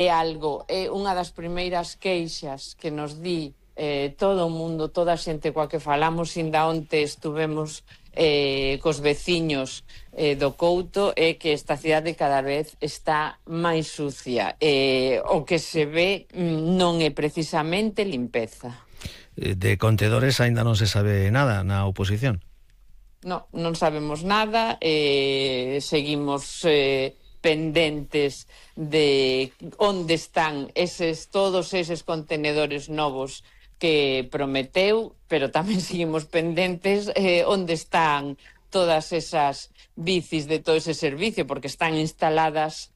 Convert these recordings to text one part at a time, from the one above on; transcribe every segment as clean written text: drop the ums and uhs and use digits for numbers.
É unha das primeiras queixas que nos di todo o mundo, toda a xente coa que falamos. Inda onte estuvemos cos veciños do Couto, é que esta cidade cada vez está máis sucia. O que se ve non é precisamente limpeza. De contedores aínda non se sabe nada na oposición? Non sabemos nada, seguimos pendentes de onde están todos eses contenedores novos que prometeu, pero tamén seguimos pendentes onde están todas esas bicis de todo ese servicio, porque están instaladas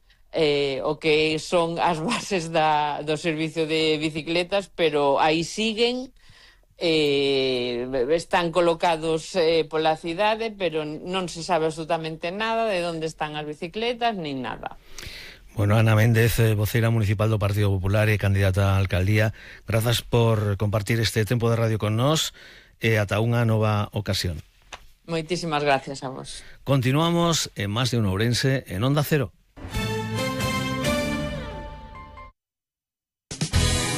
o que son as bases do servicio de bicicletas, pero aí siguen, están colocados pola cidade, pero non se sabe absolutamente nada de onde están as bicicletas, nin nada. Bueno, Ana Méndez, voceira municipal do Partido Popular e candidata á alcaldía, grazas por compartir este tempo de radio con nós e ata unha nova ocasión. Moitísimas gracias a vos. Continuamos en Más de un Ourense en Onda Cero.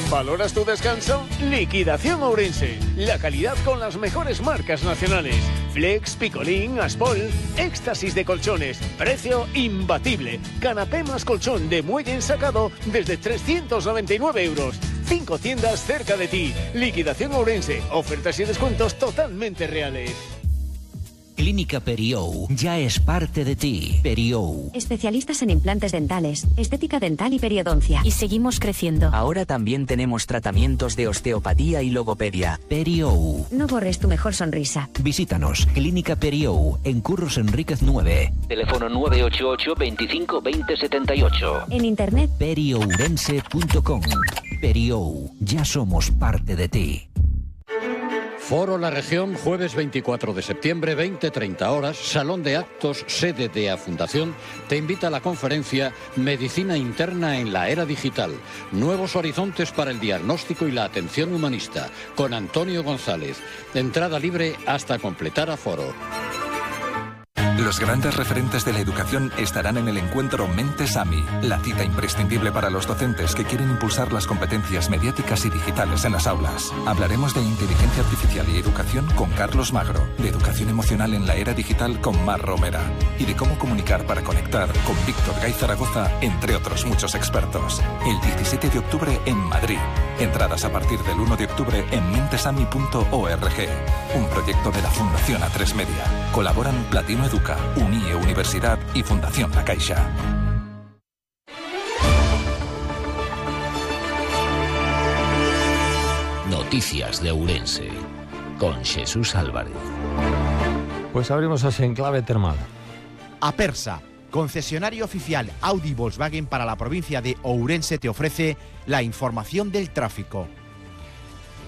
¿Valoras tu descanso? Liquidación Ourense. La calidad con las mejores marcas nacionales. Flex, Picolín, Aspol, éxtasis de colchones. Precio imbatible. Canapé más colchón de muelle ensacado desde 399 euros. 5 tiendas cerca de ti. Liquidación Ourense. Ofertas y descuentos totalmente reales. Clínica Periou ya es parte de ti. Periou. Especialistas en implantes dentales, estética dental y periodoncia. Y seguimos creciendo. Ahora también tenemos tratamientos de osteopatía y logopedia. Periou. No borres tu mejor sonrisa. Visítanos. Clínica Periou, en Curros Enríquez 9. Teléfono 988 25 20 78. En internet periourense.com. Periou, ya somos parte de ti. Foro La Región, jueves 24 de septiembre, 20-30 horas, Salón de Actos, sede de A Fundación, te invita a la conferencia Medicina Interna en la Era Digital, Nuevos Horizontes para el Diagnóstico y la Atención Humanista, con Antonio González. Entrada libre hasta completar aforo. Los grandes referentes de la educación estarán en el encuentro Mentes AMI, la cita imprescindible para los docentes que quieren impulsar las competencias mediáticas y digitales en las aulas. Hablaremos de inteligencia artificial y educación con Carlos Magro, de educación emocional en la era digital con Mar Romera y de cómo comunicar para conectar con Víctor Gay Zaragoza, entre otros muchos expertos. El 17 de octubre en Madrid. Entradas a partir del 1 de octubre en mentesami.org. Un proyecto de la Fundación A3 Media. Colaboran Platino Educa, UNIE Universidad y Fundación La Caixa. Noticias de Ourense con Jesús Álvarez. Pues abrimos así en clave termal. Apersa, concesionario oficial Audi Volkswagen para la provincia de Ourense, te ofrece la información del tráfico.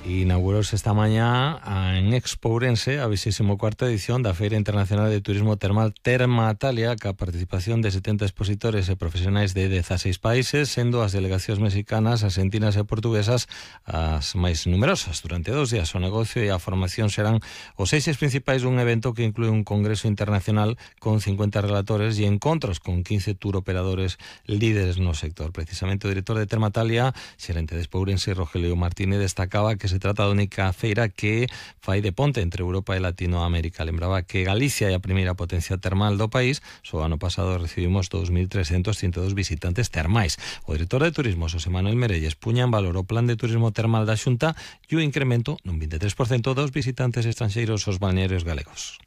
Inaugurouse esta mañá en Expo Ourense a 24ª edición da Feira Internacional de Turismo Termal Termatalia, ca participación de 70 expositores e profesionais de 16 países, sendo as delegacións mexicanas, argentinas e portuguesas as máis numerosas. Durante 2 días o negocio e a formación serán os eixes principais dun evento que inclúe un congreso internacional con 50 relatores e encontros con 15 tour operadores líderes no sector. Precisamente o director de Termatalia, xerente de Expo Ourense, Rogelio Martínez, destacaba que se trata da única feira que fai de ponte entre Europa e Latinoamérica. Lembraba que Galicia é a primeira potencia termal do país. Só ano pasado recibimos 2.332 visitantes termais. O director de Turismo, Xosé Manuel Merelles, puña en valor o plan de turismo termal da Xunta e o incremento nun 23% dos visitantes estranxeiros aos balnearios galegos.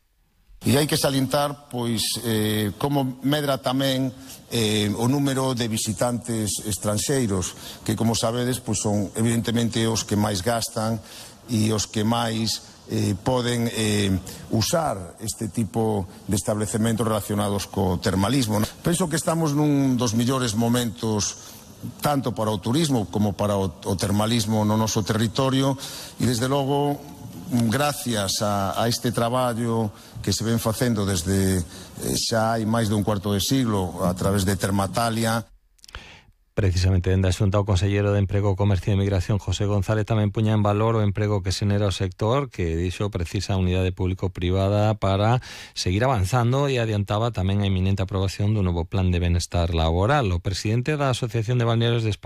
E hai que salientar como medra tamén o número de visitantes estranxeiros, que como sabedes son evidentemente os que máis gastan e os que máis poden usar este tipo de establecementos relacionados co termalismo. Penso que estamos nun dos millores momentos tanto para o turismo como para o termalismo no noso territorio e desde logo gracias a este traballo que se ven facendo desde xa hai máis de un cuarto de siglo a través de Termatalia. Precisamente dende a Xunta o conselleiro de Emprego, Comercio e Migración, José González, tamén puña en valor o emprego que xenera o sector, que dixo precisa a unidade público-privada para seguir avanzando, e adiantaba tamén a inminente aprobación do novo plan de benestar laboral. O presidente da Asociación de Balnearios de España,